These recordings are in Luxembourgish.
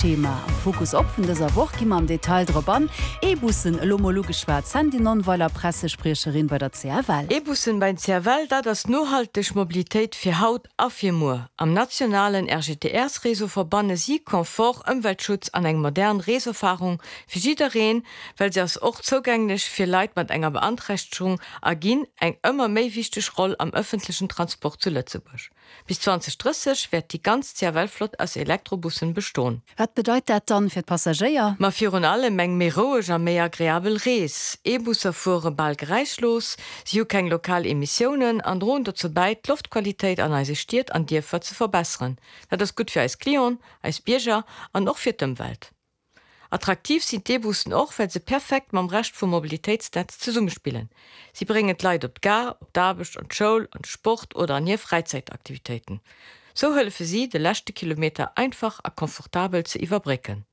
Thema am Fokus op vun dëser Woch gi mer am Detail drop an. E-Bussen elo mol ugeschwat, Sandy Nonnweiler, Pressespriecherin bei der CFL. E-Bussen beim CFL, dat ass nohalteg Mobilitéit fir haut a fir muer. Am nationalen RGTRs-Réseau verbanne si Confort, Ëmweltschutz an eng modern Reeserfarung fir jiddereen, well se ass och zougänglech fir Leit mat enger Beanträchtegung a ginn eng ëmmer méi wichteg Roll am ëffentlechen Transport zu Lëtzebuerg. Bis 2030 wäert déi ganz CFL-Flott aus Elektrobussen bestoen. Wat bedeit dat dann fir d'Passagéier? Ma virun allem eng méi roueg a méi agreabel Rees. E-Busser fuere bal geräischlos, si hu keng lokal Emissiounen an droen dozou bäi, d'Loftqualitéit an eise Stied an Dierfer ze verbesseren. Dat ass gutt fir eis Clienten, eis Bierger an och fir d'Ëmwelt. Attraktiv sinn d'E-Bussen och, well se perfekt mam Rescht vum Mobilitéitsnetz zesummespillen. Si bréngen d'Leit op d'Gare, op d'Aarbecht, an d'Schoul, an de Sport oder an hir Fräizäitaktivitéiten. Sou hëllefe si, de leschte Kilometer einfach a komfortabel ze iwwerbrécken.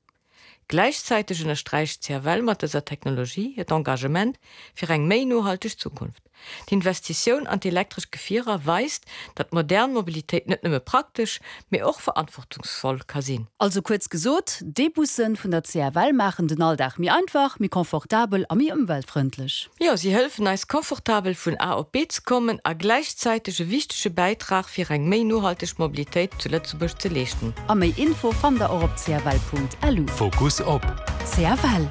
Gläichzäiteg ënnersträicht d'CFL mat dëser Technologie hiert Engagement fir eng méi nohalteg Zukunft. D'Investitioun an d'elektresch Gefierer weist, datt modern Mobilitéit net nëmme praktesch, mee och verantwortungsvoll ka sinn. Also kuerz gesot, d'E-Bussen vun der CFL maachen den Alldag méi einfach, méi confortabel a méi ëmweltfrëndlech. Jo, si hëllefen eis confortabel vun A op B ze kommen a gläichzäiteg e wichtege Bäitrag fir eng méi nohalteg Mobilitéit zu Lëtzebuerg ze leeschten. A méi Info fannt der och op cfl.lu. Fokus op. CFL.